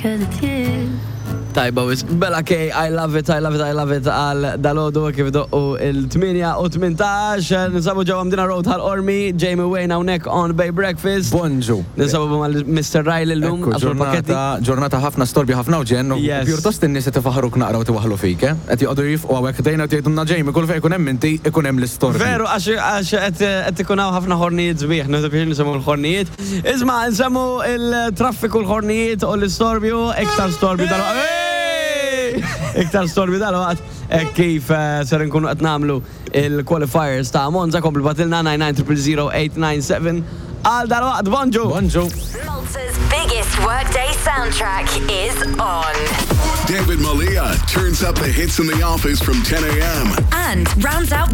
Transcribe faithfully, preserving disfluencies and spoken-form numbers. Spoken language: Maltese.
Cause it's you. Tajba wisq, Bella K, I love it, I love it, I love it għal dalgħodu kif doqqu il-tmienja u tmintax. Ninsabu ġewwa Mdina Road Ħal Qormi, Jamie Wayne hawnhekk on Bay Breakfast. Bonġu. Ninsabu mal Mister Riley llum, Ekku, għaslu l-pakketti. ġurnata, ġurnata ħafna storbju, ħafna uġen, u Yes. pjuttost in-nies qed ifaħruk naqra u tiwaħlu fik, eh? Qed joqogħdu jifqu hawnhekk dejna u jgħidulna Jamie, kull fejn ikun hemm inti ikun hemm l-istorbju. Veru, għax għax qed qed ikun hawn ħafna ħornijiet sbieħ, nieħdu biex nsemmu l-ħornijiet. Isma', nsemmu il-traffiku, l-ħornijiet u l-istorbju, iktar storbju dal Iktar storbju dal-waqt eh, kif eh, ser nkunu qed nagħmlu il-qualifiers ta' Monza, komplu ibgħatilna nine nine zero zero eight nine seven għal dal-waqt, bonġu! Bonġu. Malta's biggest workday soundtrack is on. David Malia turns up the hits in the office from ten a m And rounds out the